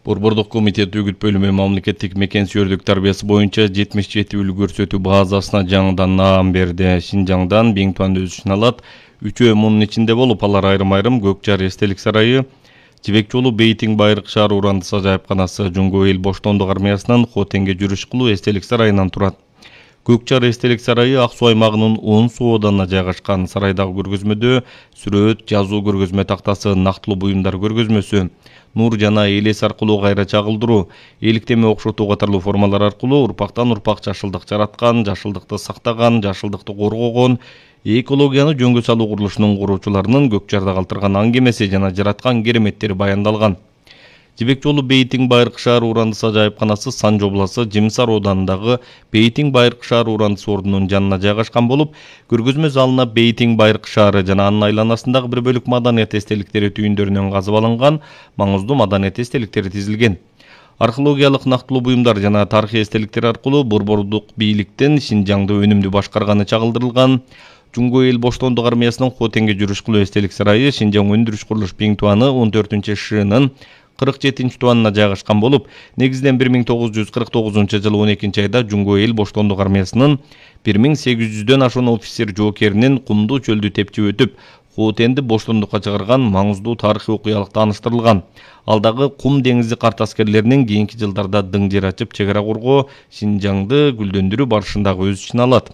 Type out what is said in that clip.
Борбордук комитет үгүт бөлүмү мамлекеттик мекен-сүйөрдүк тарбиясы боюнча 77 үлгү көрсөтүү базасына жаңыдан наам берди. Шинжаңдан Биңтуан өз ишин алат. 3 мунун ичинде болуп, алар айрым-айрым Көкжар эстелик сарайы, Жибек жолу Бейтиң байыркы шаар уурандысы ажайыпканасы, Жуңго эл боштондук армиясынын Хотенге жүрүш кылуу эстелик сарайынан турат. Көкжар эстелик сарайы Ак суу аймагынын 10 суу оданына жайгашкан. Сарайдагы көргөзмөдө сүрөт, жазуу көргөзмө тактасы, нактылуу буюмдар көргөзмөсү, нур жана элес аркылуу кайра чагылдыруу, эликтеме окшотуу катарлуу формалар аркылуу урпактан урпак жашылдык жараткан, жашылдыкты сактаган, жашылдыкты коргогон, экологияны жөнгө салуу курулушунун куруучуларынын Көкжарда калтырган аңгемеси жана жараткан кереметтери баяндалган. Жибек жолу Бейтиң байыркы шаар уурандысы ажайыпканасы Сан жобласы Жимсар оданындагы Бейтиң байыркы шаар уурандысы ордунун жанына жайгашкан болуп, көргөзмө залына Бейтиң байыркы шаары жана анын айланасындагы бир бөлүк маданият эстеликтери түйүндөрүнөн казып алынган маңыздуу маданият эстеликтери тизилген. Археологиялык нактылуу буюмдар жана тарыхый эстеликтер аркылуу борбордук бийликтин Шинжаңды өнүмдүү башкарганы чагылдырылган. Жуңго эл боштондук армиясынын Хотенге жүрүш кылуу эстелик сарайы Шинжаң өндүрүш курулуш Биңтуаны 14-шынын 47-туанына жайгашкан болуп, негизинен 1949-жылы 12-айда Жуңго эл боштондук армиясынын 1800дөн ашуун офицер жоокеринин кумдуу чөлдү тепчип өтүп, Хотенди боштондукка чыгарган маңыздуу тарыхый окуялык тааныштырылган. Ал дагы кум деңизи карт аскерлеринин кийинки жылдарда дың жер ачып чек ара коргоо, Шинжаңды гүлдөндүрүү барышындагы өз ишин алат.